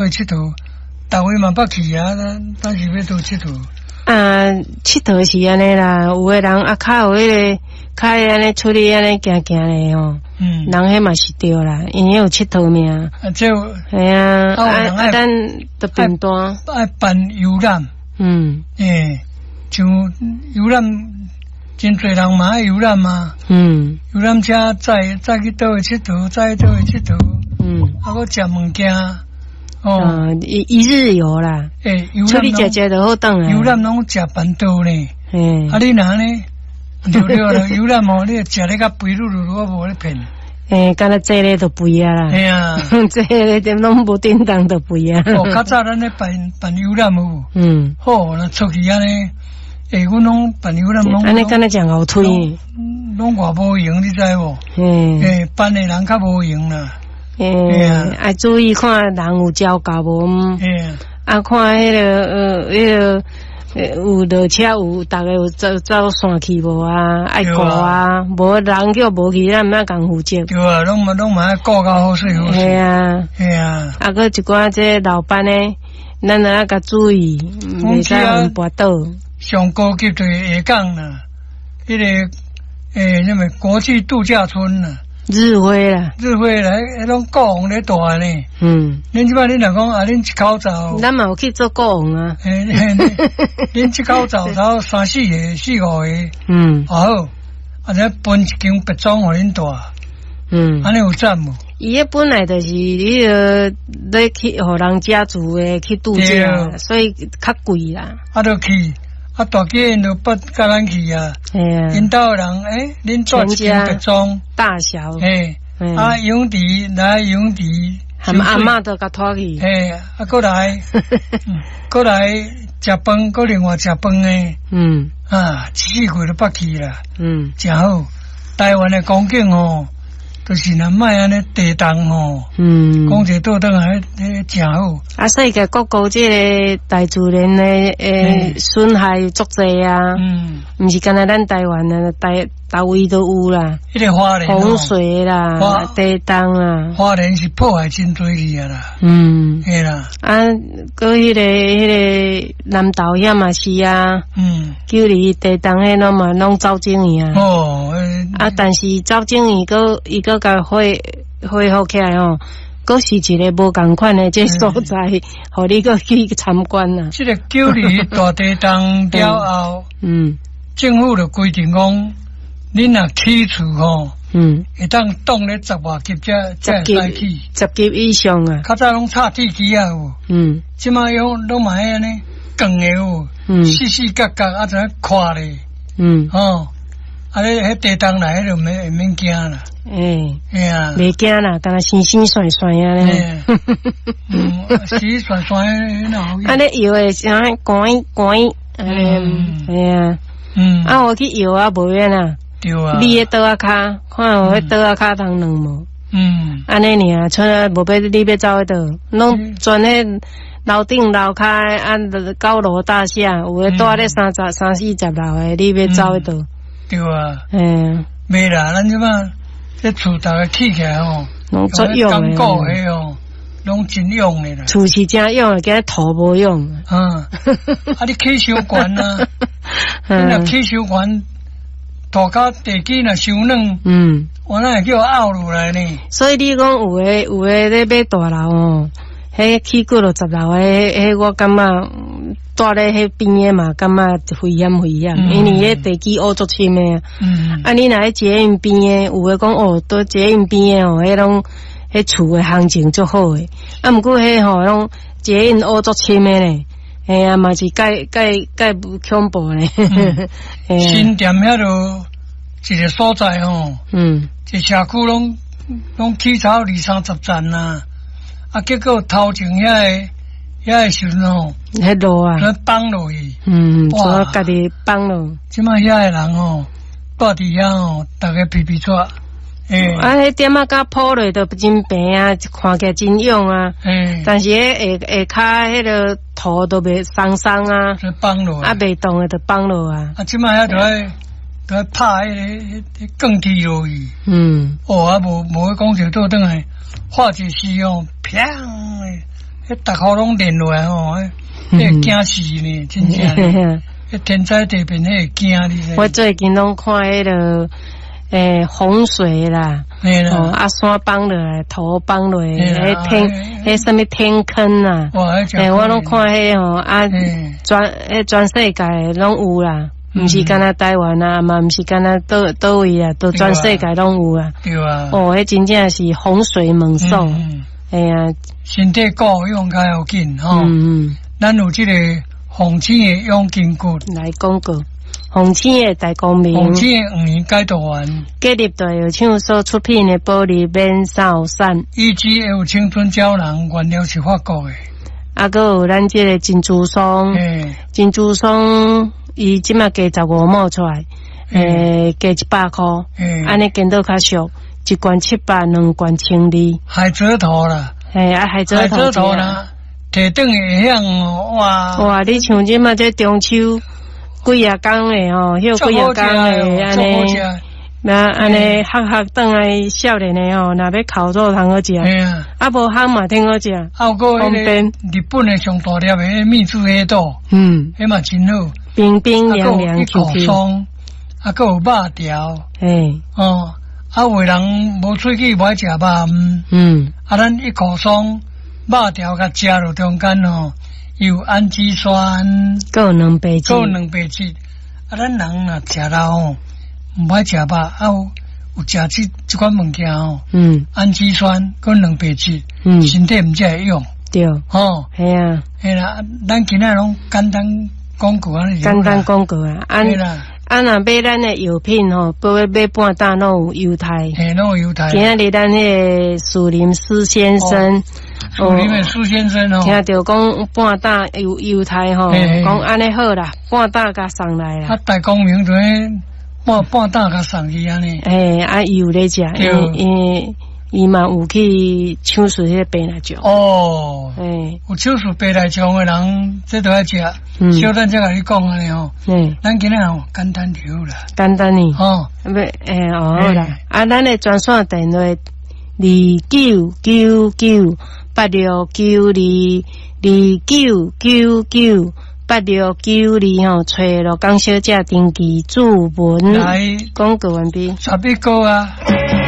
𨑨迌，逐位嘛捌去啊，咱是欲佗𨑨迌？啊，𨑨迌是按呢啦，有的人啊較有彼个，較會按呢出去按呢行行咧吼。人彼嘛是對啦，因為彼有𨑨迌命。啊，這系啊，啊，咱就平淡。愛辦遊覽。欸，像遊覽，真濟人嘛愛遊覽嘛。遊覽車載載去佗位𨑨迌，載去佗位𨑨迌。啊，閣食物件。哦。一日遊啦。欸，出去食食就好轉來。遊覽攏食辦桌呢。啊，你若按呢？對對啦，遊覽哦，你食咧較肥漉漉，我無咧騙。欸，敢若坐咧就肥啊啦。嘿啊，坐咧點攏無叮當就肥啊。哦，較早咱咧辦辦遊覽有無？好，若出去按呢，欸，阮攏辦遊覽攏。按呢敢若誠𠢕推。攏偌無閒，你知無？欸，辦的人較無閒啦。欸，愛注意看人有招夠無？啊，看彼個有落車有，逐家有走走散去無啊？愛顧啊，無人叫無去，咱毋愛共負責。對啊，攏嘛愛顧較好勢好勢。嘿啊，嘿啊。啊，閣一寡這老闆的，咱著愛共注意，袂使予𪜶跋倒。上高級就是下港啦，彼個欸，啥物國際度假村啦。日輝啦，日輝來，彼攏國王咧蹛呢。恁這擺恁若講啊，恁一口走。咱嘛有去做國王啊。嘿，恁一口走走三四个、四五个。啊好，啊這分一間別莊予恁蹛。按呢有讚無？伊彼本來就是彼个咧去予人家族的去度假，所以較貴啦。啊，就去。啊，大家𪜶就捌佮咱去啊。嘿啊。𪜶兜的人，欸，恁蹛一間別莊。大小。嘿。啊，泳池來泳池。含阿嬤都共拖去。嘿，啊，閣來，閣來食飯，閣另外食飯的。啊，一四季都捌去啦。誠好。台灣的風景吼，就是若莫按呢地動吼。講一個倒轉來，彼誠好。啊，世界各國這个大自然的損害足濟啊。毋是干焦咱台灣啊，逐位都有啦。彼个花蓮洪水啦，地動啦。花蓮是破壞真濟去啊啦。嘿啦。啊，閣彼个南投遐嘛是啊。九里地動彼攏嘛攏走整去啊。哦。啊，但是走整去，閣伊閣共恢復起來吼，閣是一个無仝款的這所在，予你閣去參觀啊。這个九里大地動了後，政府就規定講，恁若起厝吼，會當擋咧十外級才會使起，十級以上啊。較早攏插鐵枝仔有，這擺用攏嘛按呢鋼的有，四四角角啊，怎寬咧？吼。啊！你彼地動來，彼就免驚啦。欸，嘿啊，袂驚啦，敢若生生跣跣按呢。生跣跣那好。啊，你搖的啥？滾滾，嘿啊。啊，我去搖啊，無免啊。對啊。你彼桌仔跤，看有彼桌仔跤通軟無？按呢爾，賰啊，無欲你欲走去佗，攏全彼樓頂樓跤啊，高樓大廈，有的蹛咧三十、三四十樓的，你欲走去佗？對啊，嘿，袂啦，咱這擺這厝逐家起起來吼，攏足勇的，堅固的吼，攏真勇的啦。厝是誠勇的，今土無勇。啊，你起傷懸啊，你若起傷懸，塗跤地基若傷軟，我哪會叫拗落來呢？所以你講有的咧買大樓哦，彼起幾落十樓的，彼我感覺蹛咧彼邊的嘛，感覺危險危險，因為彼地基挖足深的。啊，你若佇捷運邊的，有的講哦，佇捷運邊的哦，彼攏彼厝的行情足好的。啊，毋過彼吼攏捷運挖足深的咧，嘿啊，嘛是蓋蓋蓋恐怖咧。新店遐落一个所在吼，一社區攏攏起草二三十層啊，啊，結果頭前遐個時陣吼，彼路啊，崩落去，哇，家己崩落。這擺遐个人吼，蹛佇遐吼，逐家皮皮掣。欸，啊，彼店仔佮鋪落都真平啊，看起來真勇啊。但是彼下下跤彼个土都袂鬆鬆啊，崩落，啊，袂動的就崩落啊。啊，這擺遐就愛就愛拍彼个鋼鐵落去。哦，啊，無無講就倒轉來，化一時哦，砰！彼逐戶攏連落來吼，彼會驚死呢，真正。彼天災地變，彼會驚你知。我最近攏看彼个洪水啦，哦，啊山崩落來，土崩落來，彼天彼啥物天坑啊，我攏看彼吼，啊，全世界攏有啦，毋是干焦台灣啊，嘛毋是干焦佗佗位啊，都全世界攏有啊。對啊。哦，彼真正是洪水猛獸，哎呀，身體顧用較要緊吼。咱有這個鳳青的養筋骨來廣告。鳳青的大光明，鳳青的黃連解毒丸，建立大藥廠所出品的保利免掃散，EGF 青春膠囊原料是法國的，啊，閣有咱這個珍珠霜，珍珠霜伊這馬加15毛出來，加100箍，按呢見到較俗，一罐700，兩罐1200。海蜇頭啦，啊，海蜇頭啦，提轉會曉哇！哇，你像這馬這中秋。幾仔工的吼，歇幾仔工的按呢，那按呢，合合轉來少年的吼，若欲烤肉通好食，啊無烘嘛挺好食，啊有閣彼个日本的上大粒的蜜汁黑豆，彼嘛真好，冰冰涼涼 Q Q，啊閣有肉條，哦，啊有的人無喙齒無愛食肉，啊咱一口爽肉條共食落中間吼。有氨基酸，閣有蛋白質，閣有蛋白質。啊，咱人若食了吼，毋愛食肉，啊有有食這款物件吼，氨基酸閣蛋白質，身體毋才會用。對，吼，係啊，係啦，咱今仔攏簡單廣告按呢。簡單廣告啊，啊，啊，若買咱的藥品吼，閣欲買半擔攏有優待。嘿，攏有優待。今仔日咱彼個樹林施先生。樹林的施先生哦，聽著講半擔有優待吼，講按呢好啦，半擔共送來啦。啊，大光明就彼半擔共送去按呢。嘿，啊，伊有咧食，因伊嘛有去手術彼個白內障。哦，有手術白內障的人，這都愛食。小等才共你講按呢吼。咱今仔吼簡單就好啦。簡單呢。哦，欲，哦好啦。啊，咱的專線電話29998692，29998692吼，揣鹿港小姐登記注文。來，廣告完畢。11個啊。